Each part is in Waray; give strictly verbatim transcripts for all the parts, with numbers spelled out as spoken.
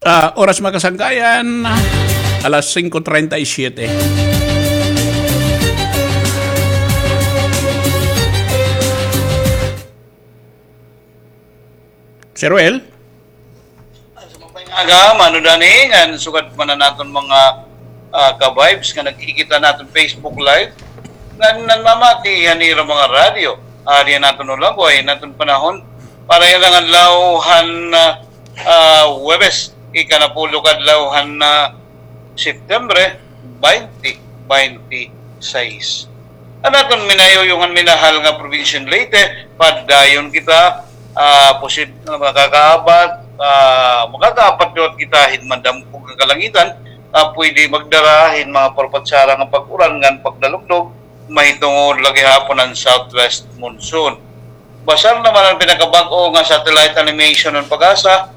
Ah, oras, mga kasangkayan, alas singko treinta y siete. Sir Ruel? Sa mga aga, Mano Dani, ngan sugad man an aton mga, ah, ka-vibes nga nagkikita naton Facebook Live, ngan nanmamati han ira mga radyo. Ari an aton ulagway, an aton panahon, para yana nga adlaw han, ah, ah, Huwebes, ikanapulo ka adlaw han, ah, Septembre, twenty twenty-six. An aton minayuyong ngan minahal nga probinsya han Leyte, padayon kita, ah, posib-, makakaabat, ah, makakaabat liwat kita hin madamkog nga kalangitan, nga pwede magdara hin mga parpatsara nga pag-uran ngan pagdalugdog, mahitungod la gihapon an southwest monsoon. Basar naman an pinakabag-o nga satellite animation han PAGASA,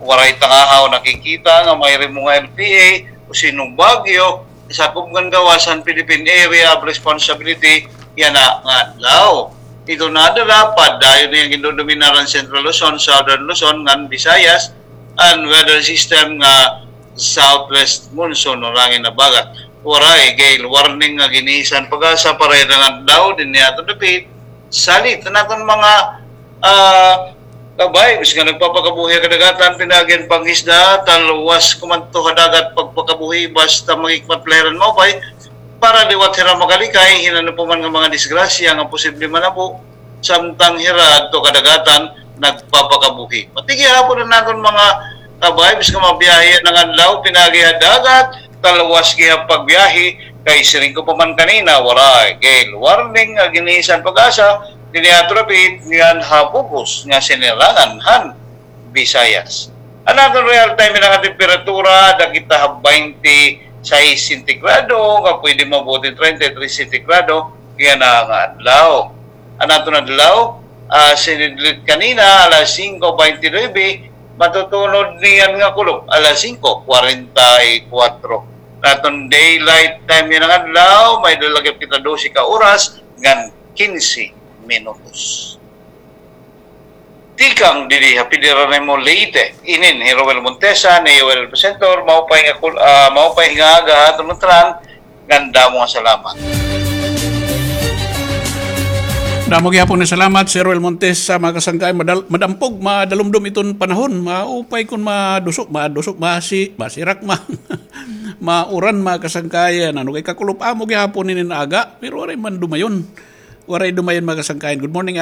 waray tangahaw nakikita nga may rimo nga L P A o sino bagyo, sakob ngan gawas han Philippine Area of Responsibility yana nga adlaw. Ito nadara, padayon niya gindodominar an Central Luzon, Southern Luzon, ngan Visayas, an weather system nga southwest monsoon o rangin habagat. Waray gale warning nga giniisa han PAGASA para yana nga adlaw dinhi ha aton dapit. Salit an aton mga, ah, ka-vibes nga nagpapakabuhi ha kadagatan, pinaagi han pangisda, talwas kumadto ha dagat pagpakabuhi basta maghikmat la hira hin maupay para liwat hira makalikay hin ano pa man nga mga disgrasya nga posible manabo samtang hira adto kadagatan nagpapakabuhi. Pati gihapon an aton mga ka-vibes nga mabiyahe yana nga adlaw, pinaagi ha dagat, talwas gihap pagbiyahe, kay siring ko pa man kanina, waray gale warning nga giniisa han PAGASA dinhi ha aton dapit ngan ha bug-os nga sinirangan han Visayas. An aton real time nga temperatura, ada kita ha twenty-six sentigrado, nga pwede maabot hin treinta y tres sentigrado yana nga adlaw. An aton adlaw, ah, sinidlit kanina, alas singko beintinuebe, matutunod niyan nga kulop, alas singko kwarenta y kuwatro. An aton daylight time yana nga adlaw, may-ada la gihap kita dose ka oras ngan kinse minutos. Tikang didi ha Federal Nemo Leyte, inin hi Roel Montesa, an iyo presenter, maupay nga kul-, ah, maupay nga aga ha aton ngatanan, ngan damo nga salamat. Damo gihapon nga salamat, Sir Roel Montesa, mga kasangkayan, madal-, madampog, madalumdom iton panahon, maupay kon maduso, maduso, masi-, masirak, ma-, mauran, mga kasangkayan, ano, kay kakulop amo gihapon inin aga, pero waray man dumayon. Waray dumayon, mga kasangkayan. Good morning, Ana.